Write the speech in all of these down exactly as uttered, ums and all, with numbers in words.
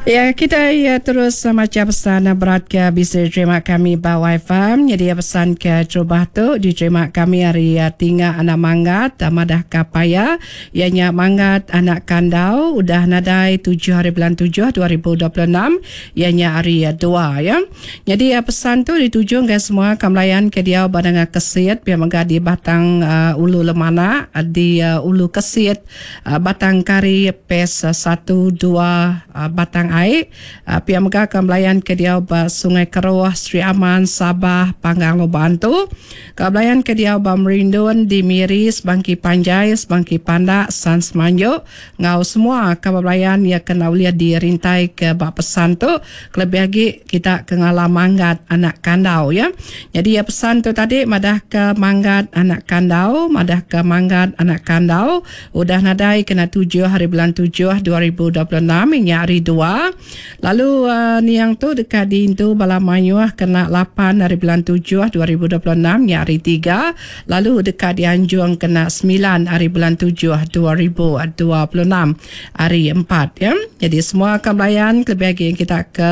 Ya, kita ya terus macha pesan berat ke bisi diterima kami ba Wi-Fi. Jadi pesan ke terubah tu diterima kami ari Tinga Anak Manggat madah ka paya iya nya Manggat Anak Kandau udah nadai tujuh hari bulan tujuh dua ribu dua puluh enam iya nya hari dua ya. Jadi pesan tu dituju ngagai semua ka melayan ke diau ba Nanga Kesit pia mega di Batang uh, Ulu Lemanak di uh, Ulu Kesit uh, Batang Kari P E S satu dua uh, Batang Ai uh, pia mega ka melayan ke diau ba Sungai Keruh, Sri Aman, Sabah, Panggang Lubok Antu. Ka belayan ke diau ba Merindun di Miri, Sebangki Panjai, Sebangki Pandak, San Semanjuk ngau semua ka belayan ya kena ulih dirintai ke ba pesan tu, kelebih agi kita ke ngelala Manggat Anak Kandau ya. Jadi ya pesan tu tadi madah ke Manggat Anak Kandau, madah ke Manggat Anak Kandau udah nadai kena tujuh hari bulan tujuh dua ribu dua puluh enam nya hari dua. Lalu uh, niang tu dekat diintu bala mayuh kena lapan hari bulan tujuh dua ribu dua puluh enam nya hari tiga, lalu dekat dianjung kena sembilan hari bulan tujuh dua ribu dua puluh enam hari empat ya. Jadi semua akan belayan kelebih lagi yang kita ke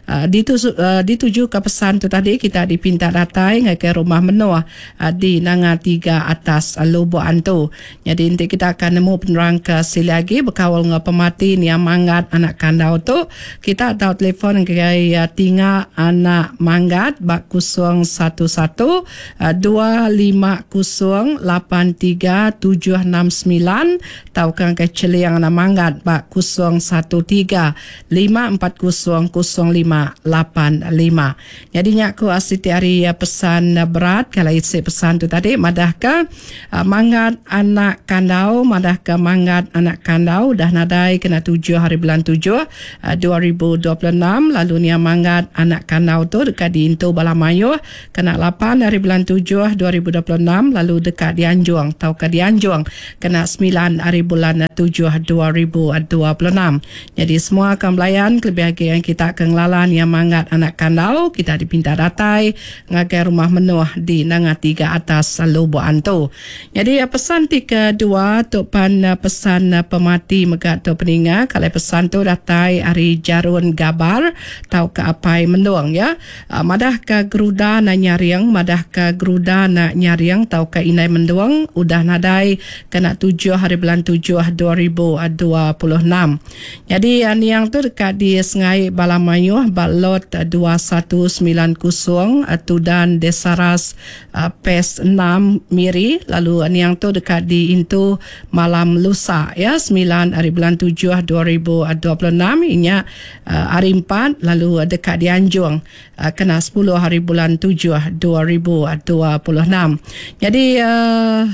uh, dituju, uh, dituju ke pesan tu tadi, kita dipinta datai ke rumah Menoh uh, di Nanga tiga atas uh, Lubok Antu. Jadi nanti kita akan nemu penerang ke sili lagi berkawal dengan pemati niang Manggat Anak Kandau tu. Kita tahu telefon ke uh, Tinga Anak Manggat bak kosong satu satu dua lima kosong lapan tiga tujuh enam sembilan tau kan ke Celiang Anak Manggat bak kosong satu tiga lima empat kosong kosong lima lapan lima. Jadi nyak ku asiti hari pesan berat kalau isi pesan tu tadi madah ke Manggat Anak Kandau, madah ke Manggat Anak Kandau dah nadai kena tujuh hari bulan tujuh dua ribu dua puluh enam, lalu nia Manggat Anak Kandau tu dekat diintu bala mayuh kena lapan hari bulan tujuh dua ribu dua puluh enam, lalu dekat dianjung tau ke dianjung kena sembilan hari bulan tujuh dua ribu dua puluh enam. Jadi semua akan belayan kelebih lagi yang kita akan ngelalan yang Manggat Anak Kandau, kita dipinta datai ngagai rumah Menoh di Nanga tiga atas Lubok Antu. Jadi pesan ti kedua tu pan pesan pemati mega tu peninga kalau pesan tu datai ari Jarun Gabar tau ke Apai Mendung ya. Madah ke Geruda na nyaring, madah ke Geruda na nyaring tau ke Inai Mendung udah nadai kena tujuh hari bulan tujuh dua ribu dua puluh enam. Jadi niang tu dekat di Sengai Balamayuh balot dua satu sembilan kosong Tudan Desaras P E S enam Miri, lalu niang tu dekat di Intu malam lusa ya sembilan hari bulan tujuh dua ribu dua puluh enam inya hari empat, lalu dekat di Anjung kena sepuluh hari bulan tujuh dua ribu dua puluh enam. Jadi uh,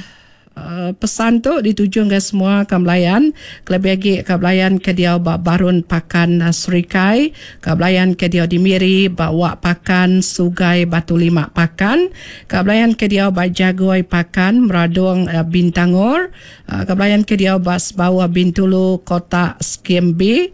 Uh, pesan tu dituju ke semua kebelayan, kelebih lagi kebelayan ke dia ba Barun Pakan uh, Serikai, kebelayan ke dia di Miri ba Wak Pakan Sugai Batu Lima Pakan, kebelayan ke dia ba Jagoi Pakan Meradong uh, Bintangor, uh, kebelayan ke dia ba Bawah Bintulu Kota Skim B,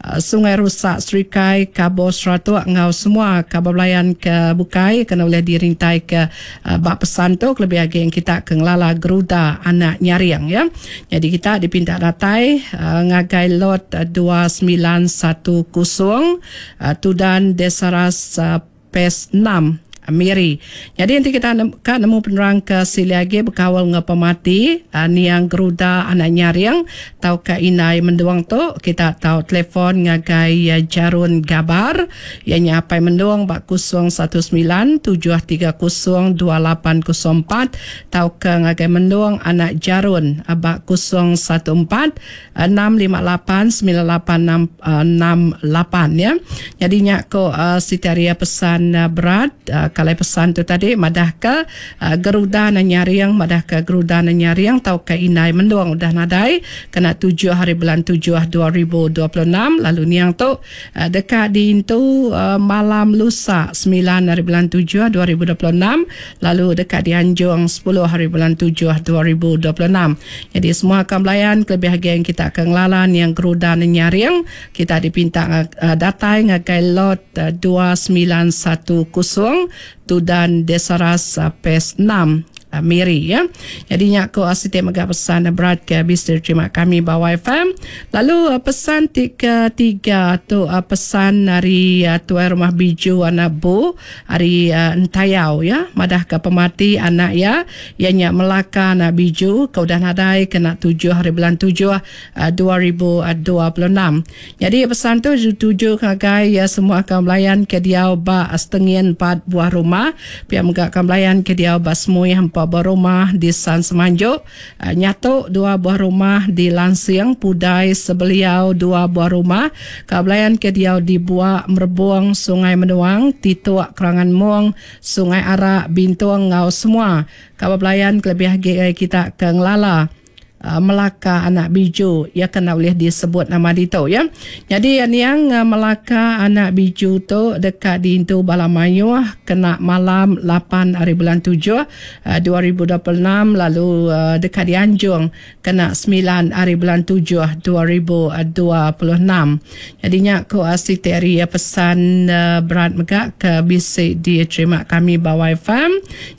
Sungai Rusak Serikai Kabo Seratuk ngau semua kebelayan ke bukai kena boleh dirintai ke uh, bak pesan tu kelebih lagi yang kita ke ngelala Geruda Anak Nyaring ya. Jadi kita dipinta datai uh, ngagai lot dua sembilan satu kosong uh, Tudan Desaras uh, P E S enam Miri. Jadi nanti kita kan nemu penerang ke sili lagi berkawal dengan pemati uh, niang Geruda Anak Nyaring tau ke Inai Menduang tu, kita tahu telefon ngagai uh, Jarun Gabar yang nyapai Menduang bak kosong satu sembilan tujuh tiga kosong dua lapan kosong empat tau ke ngagai Menduang Anak Jarun uh, bak kosong satu empat enam lima lapan sembilan lapan enam, enam lapan ya. Jadi nyak ko uh, sitaria pesan uh, berat uh, kalau pesan tu tadi madah ke uh, Geruda na nyaring, madah ke Geruda na nyaring tau ke Inai Menduang udah nadai kena tujuh hari bulan tujuh dua ribu dua puluh enam, lalu niang tu uh, dekat diintu uh, malam lusa sembilan hari bulan tujuh dua ribu dua puluh enam, lalu dekat di Anjung sepuluh hari bulan tujuh dua ribu dua puluh enam. Jadi semua akan belayan kelebih lagi yang kita akan ngelalan yang Geruda na nyaring, kita dipinta uh, datai ngagai lot uh, dua sembilan satu kosong Tudan Desaras P E S enam Miri ya. Jadi nya ko siti mega pesan berat ke bisi terima kami ba Y F M. Lalu pesan ti ketiga tu pesan ari tuai rumah Biju anak Bu ari Entayau ya, madah ke pemati anak ya iya nya Melaka anak Biju ke udah nadai kena tujuh hari bulan tujuh dua ribu dua puluh enam. Jadi pesan tu dituju ngagai ya semua kaum belayan ke diau ba Setengin empat buah rumah, pia mega kaum belayan ke diau ba Semuih empat buah rumah di San Semanjuk, Nyatuk dua buah rumah di Lansing, Pudai Sebeliau dua buah rumah, kaum belayan ke diau di Buak, Merebong, Sungai Menuang, Tituk, Kerangan Mong, Sungai Arak, Bintung ngau semua kaum belayan kelebih agi kita ke ngelala Melaka anak Biju ya kena boleh disebut nama ditu ya. Jadi yang Melaka anak Biju tu dekat diintu bala mayuh kena malam lapan hari bulan tujuh dua ribu dua puluh enam, lalu dekat dianjung kena sembilan hari bulan tujuh dua ribu dua puluh enam. Jadinya ko siti hari pesan berat mega ke bisi diterima kami ba Y F M.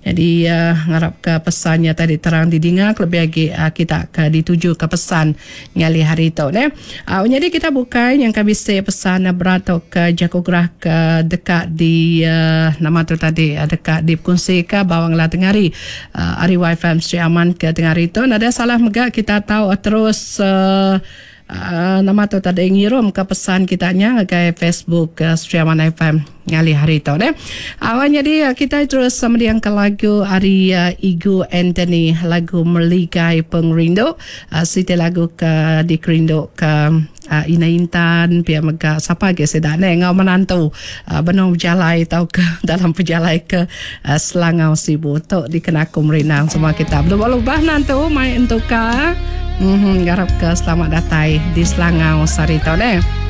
Jadi ngarap ke pesannya tadi terang didinga lebih lagi kita ke dituju ke pesan ngali hari tu ne. Uh, jadi kita bukai yang kami bisi pesan berat atau ke jago gerah ke dekat di uh, nama tu tadi uh, dekat di kongsi ke bawang lah tengari uh, hari Y F M Sri Aman ke tengari tu. Nada salah mega kita tahu uh, terus uh, uh, nama tu tadi ngirum ke pesan kita nya ke Facebook uh, Sri Aman F M ngali hari tu ne. Awal jadi kita terus sama dengan ke lagu hari uh, Igu Anthony, lagu Meligai Pengerindu, uh, siti lagu ke dikerindu ke uh, Ina Intan pia mega siapa ge sedak ne ngau menantu uh, benung berjalai tau ke dalam perjalai ke uh, Selangau Sibu tu dikenaku merinang semua kita. Belubah-lubah nantu mai entuka. Mhm, garap ke selamat datai di Selangau sari tu ne.